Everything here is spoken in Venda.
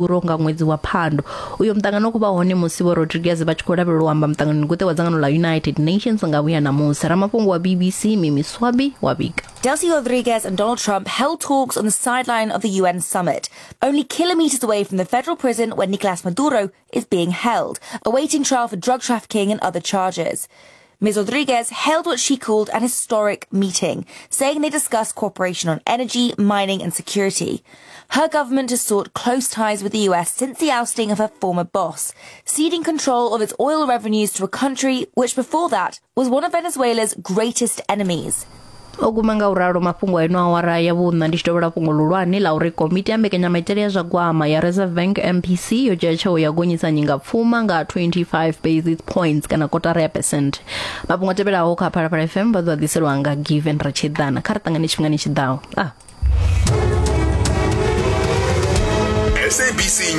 Maduro nga ṅwedzi wa Phando. Uyo muṱangano u khou vha hone musi Vho Rodriguez vha tshi khou lavhelelwa u amba muṱanganoni guṱe wa dzangano ḽa United Nations nga vhuya ṋamusi. Ramafhungo wa BBC Mimi Swabi wa vhiga. Delcy Rodriguez and Donald Trump held talks on the sideline of the UN summit, only kilometers away from the federal prison where Nicolas Maduro is being held, awaiting trial for drug trafficking and other charges. Ms. Rodriguez held what she called an historic meeting, saying they discussed cooperation on energy, mining and security. Her government has sought close ties with the US since the ousting of her former boss, ceding control of its oil revenues to a country which before that was one of Venezuela's greatest enemies. O guma nga u ralo mafhungo a ino awara ya vhuṋa ndi tshi tovhela fhungo ḽihulwane ḽa uri komiti ya mbekanyamaitele ya zwa gwama ya Reserve Bank MPC yo dzhia tsheo ya gonyisa nyingapfuma nga 25 basis points kana kotara ya percent. Mafhungo a tevhelaho kha Phalaphala FM vha ḓo a ḓiselwa nga Given Ratshiḓana. Kha ri ṱangane tshifhingani tshi ḓaho. Ah. SABC.